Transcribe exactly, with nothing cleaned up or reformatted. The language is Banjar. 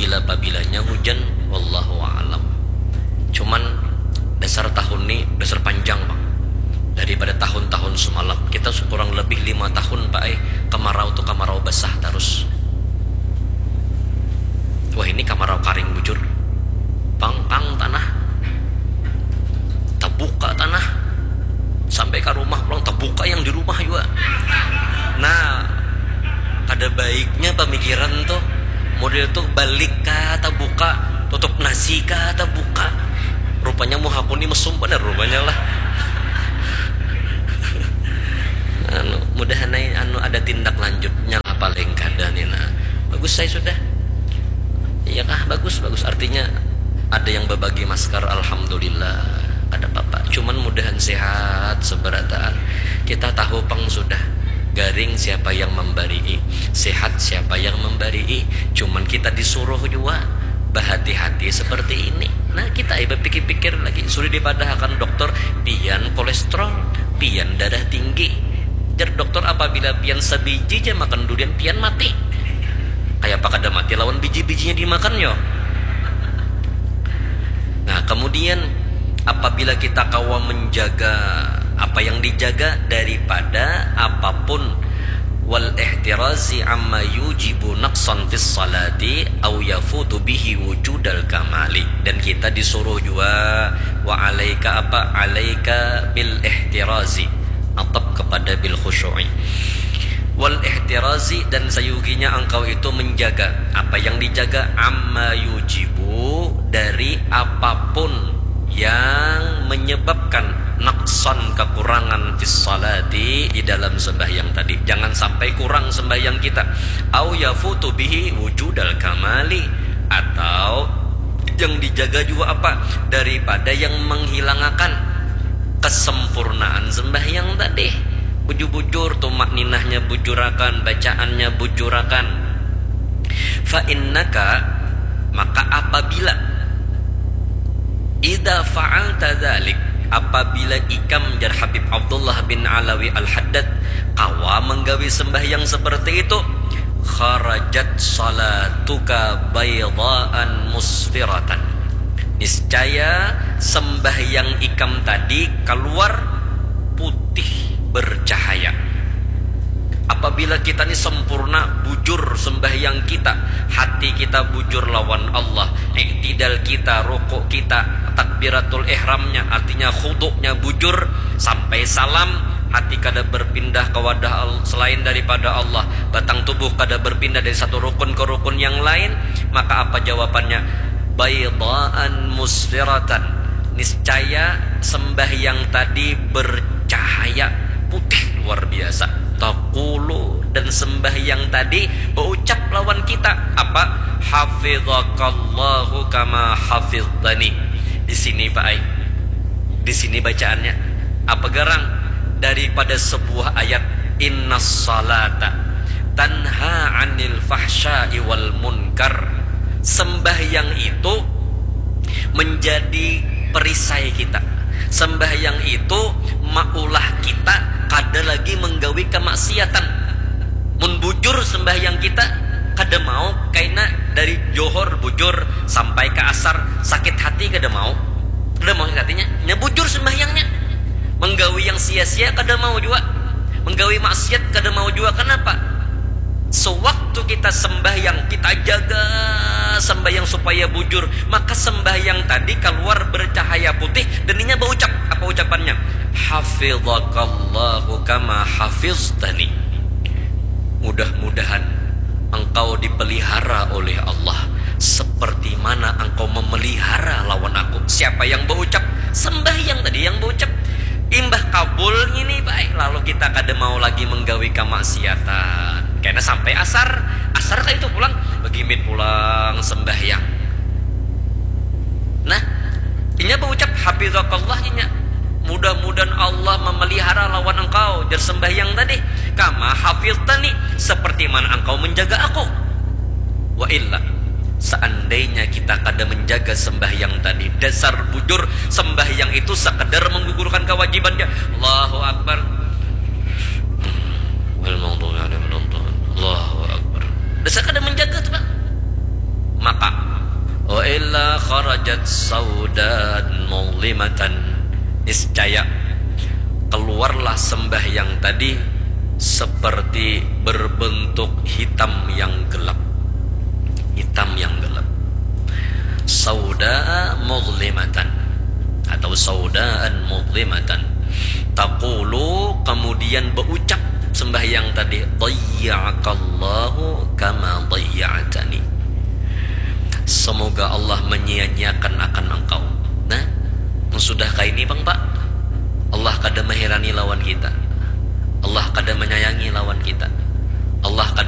Bila pabilanya hujan, wallahu a'lam. Cuman dasar tahun ni dasar panjang, Bang. Daripada tahun-tahun semalam, kita kurang lebih lima tahun, Pak, eh, kemarau tu kemarau basah terus. Wah, ini kemarau karing bujur. Pang, pang tanah. Tabuka tanah. Sampai ke rumah pulang, tabuka yang di rumah juga. Nah, kada baiknya pemikiran tuh. Model tuh balik kah tabuka, tutup nasi kah tabuka. Rupanya muhaku ni mesum banar rupanya lah. Anu, mudahan ai anu ada tindak lanjutnya lah, paling kada ni nah. Bagus ai sudah. Iya kah? Bagus, bagus. Artinya ada yang berbagi masker, alhamdulillah. Kada apa-apa. Cuman mudahan sehat seberataan. Kita tahu pang sudah, garing siapa yang membarii, sehat siapa yang membarii. Cuman kita disuruh juga bahati-hati seperti ini. Nah, kita ai bapikir-pikir lagi. Sudah dipadahakan dokter, pian kolesterol, pian darah tinggi. Jar dokter, apabila pian sabiji ja makan durian, pian mati. Kayapa kada mati lawan biji-bijinya dimakan, yo? Nah, kemudian apabila kita kawa menjaga apa yang dijaga daripada apapun, wal ihtirazi amma yujibu naqsan fis salati au yafutu bihi wujudal kamali. Dan kita disuruh juga, wa alaika apa? Alaika bil ihtirazi. Atap kepada bil khusyu'i. Wal ihtirazi, dan sayuginya engkau itu menjaga. Apa yang dijaga? Amma yujibu, dari apapun yang menyebabkan naqsan, kekurangan, fis salati, di dalam sembahyang tadi. Jangan sampai kurang sembahyang kita. Au yafutu bihi wujudal kamali, atau yang dijaga juga apa? Daripada yang menghilangakan kesempurnaan sembahyang tadi. Bujur-bujur, tumakninahnya bujurakan, bacaannya bujurakan. Fa innaka, maka apabila, idza fa'alta dzalik, apabila ikam, jar Habib Abdullah bin Alawi Al-Haddad, kawa menggawi sembahyang seperti itu, kharajat salatuka baydaan musfiratan. Niscaya sembahyang ikam tadi kaluar putih bercahaya. Apabila kita ni sempurna, bujur sembahyang kita, hati kita bujur lawan Allah, iktidal kita, rukuk kita, takbiratul ihramnya, artinya khuduknya bujur, sampai salam, hati kada berpindah ke wadah selain daripada Allah, batang tubuh kada berpindah dari satu rukun ke rukun yang lain, maka apa jawabannya? Baydaan musfiratan. Niscaya sembahyang tadi bercahaya putih luar biasa. Taqulu, dan sembahyang tadi berucap lawan kita apa? Hafizakallahu kama hafiztani. Di sini, Pak ai. Di sini bacaannya apa garang? Daripada sebuah ayat, innas salata tanha anil fahsya'i wal munkar. Sembahyang itu menjadi perisai kita. Sembahyang itu maulah kita kada lagi menggawi kemaksiatan. Mun bujur sembahyang kita, kada mau kaina dari johor bujur sampai ke asar sakit hati, kada mau. Kada mau sakit hatinya, nya bujur sembahyangnya. Menggawi yang sia-sia kada mau jua. Menggawi maksiat kada mau jua. Kenapa? Sewaktu kita sembahyang, kita jaga sembahyang supaya bujur, maka sembahyang tadi keluar bercahaya putih dan inya berucap. Apa ucapannya? Hafizakallahu kama hafiztani. Mudah-mudahan engkau dipelihara oleh Allah seperti mana engkau memelihara lawan aku. Siapa yang berucap? Sembahyang tadi yang berucap. Imbah kabul ngini, baik, lalu kita kada mau lagi menggawi kamaksiatan. Karena sampai asar, asar kayak itu pulang, begimit pulang sembahyang. Nah, inya berucap, hafizakallah, inya. Mudah-mudahan Allah memelihara lawan engkau, jar sembahyang tadi. Kama hafiztani, seperti mana engkau menjaga aku. Wa illa, seandainya kita kada menjaga sembahyang tadi, dasar bujur sembahyang itu sekedar menggugurkan kewajibannya. Allahu Akbar. Wal maghdubi alaihim waladdallin. Allahu Akbar. Dasar kada menjaga tu, Pak. Maka Kharajat saudan mudlimatan. Niscaya keluarlah sembahyang tadi seperti berbentuk hitam yang gelap. Hitam yang gelap. Sauda mudlimatan atau saudaan mudlimatan. Taqulu, kemudian berucap sembahyang tadi, "Dayya'akallahu kama dayya'tani." Semoga Allah menyia-nyiakan akan engkau. Nah, sudah kaini pang, Pak. Allah kada mahirani lawan kita. Allah kada menyayangi lawan kita. Allah kada